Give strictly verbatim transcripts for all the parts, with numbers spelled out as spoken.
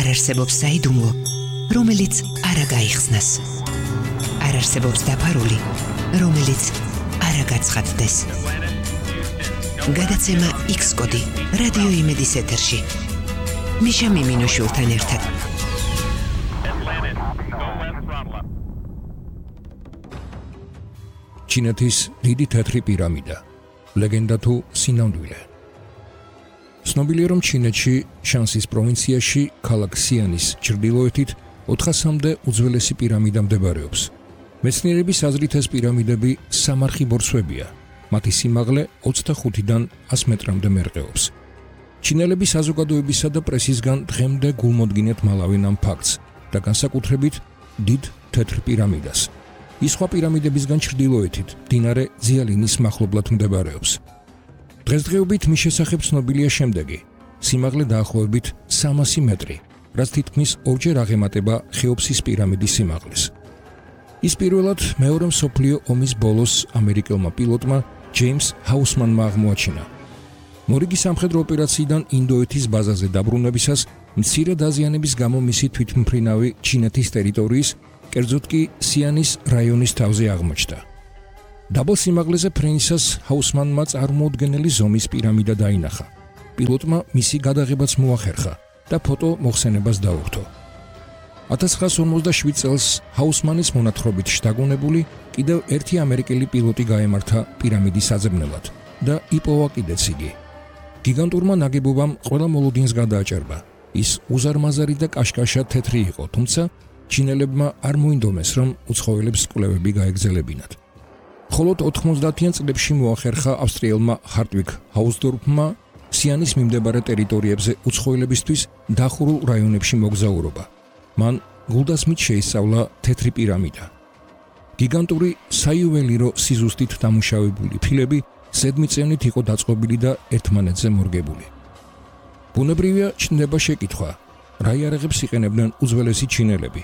არ არსებობს საიდუმლო, რომელიც არ გაიხსნას. არ არსებობს დაფარული, რომელიც არ გაცხადდეს. გადაცემა X კოდი რადიო იმედის ეთერში. მიშა მიმინოშვილთან ერთად. ჩინეთის დიდი თეთრი პირამიდა. ლეგენდა თუ სინამდვილე. ცნობილია, რომ ჩინეთში შანსის პროვინციაში ქალაქ სიანის ჩრდილოეთით ოთხასამდე უძველესი პირამიდა მდებარეობს. მეცნიერების აზრით ეს პირამიდები სამარხი ბორცვებია. მათი სიმაღლე ოცდახუთიდან ას მეტრამდე მერყეობს. ჩინელების საზოგადოებისა და პრესისგან დღემდე გულმოდგინეთ მალავენ ამ ფაქტს და განსაკუთრებით დიდ თეთრ პირამიდას. ის სხვა პირამიდებისგან ჩრდილოეთით მდინარე ძიალინის მახლობლად მდებარეობს. დღესდღეობით მის შესახებ ცნობილია შემდეგი: სიმაღლე დაახლოებით სამასი მეტრი, რაც თითქმის ორჯერ აღემატება ხეოფსის პირამიდის სიმაღლეს. ის პირველად მეორე მსოფლიო ომის ბოლოს ამერიკელმა პილოტმა ჯეიმს ჰაუსმანმა აღმოაჩინა. მორიგი სამხედრო ოპერაციიდან ინდოეთის ბაზაზე დაბრუნებისას მცირე დაზიანების გამო მისი თვითმფრინავი ჩინეთის ტერიტორიის, კერძოდ კი სიანის რაიონის თავზე აღმოჩნდა. დაბალ სიმაღლეზე ფრენისას ჰაუსმანმა წარმოუდგენელი ზომის პირამიდა დაინახა. პილოტმა მისი გადაღებაც მოახერხა და ფოტო მოხსენებას დაუხტო. ათას ცხრაას ორმოცდაშვიდ წელს ჰაუსმანის მონათხრობით შთაგონებული კიდევ ერთი ამერიკელი პილოტი გაემართა პირამიდის საძებნელად და იპოვა კიდეც იგი. გიგანტურმა ნაგებობამ ყველა მოლოდინს გადააჭერბა. ის უზარმაზარი და კაშკაშა თეთრი იყო, თუმცა ჩინელებმა არ მოინდომეს, რომ უცხოელებს კვლევები გაეგზელებინათ. მხოლოდ ოთხმოცდაათიან წლებში მოახერხა ავსტრიელმა ჰარტვიგ ჰაუსდორფმა სიანის მიმდებარე ტერიტორიებზე უცხოელებისთვის დახურულ რაიონებში მოგზაურობა. მან გულდასმით შეისწავლა თეთრი პირამიდა. გიგანტური საიუველირო სიზუსტით დამუშავებული ფილები ზედმიწევნით იყო დაწყობილი და ერთმანეთზე მორგებული. ბუნებრივია ჩნდება შეკითხვა, რა იარაღებს იყენებდნენ უძველესი ჩინელები,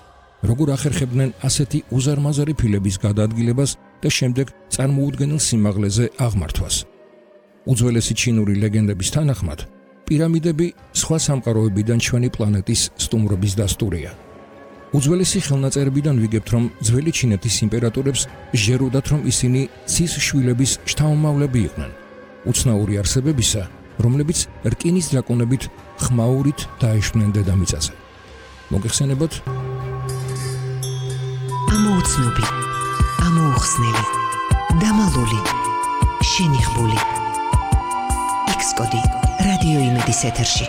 როგორ ახერხებდნენ ასეთი უზარმაზარი ფილების გადაადგილებას და შემდეგ წარმოუდგენელ სიმაღლეზე აღმართვას. უძველესი ჩინური ლეგენდების თანახმად, პირამიდები სხვა სამყაროებიდან ჩვენი პლანეტის სტუმრობის დასტურია. უძველესი ხელნაწერებიდან ვიგებთ, რომ ძველი ჩინეთის იმპერატორებს ჟეროდათ, რომ ისინი ცის შვილების შთამომავლები იყვნენ, უცნაური არსებებისა, რომლებიც რკინის დრაკონებით ხმაურით დაეშვნენ დედამიწაზე. მოგეხსენებათ? ამოუცნობი, ამოუხსნელი, დამალული, შენიღბული. X კოდი რადიო იმედის ეთერში.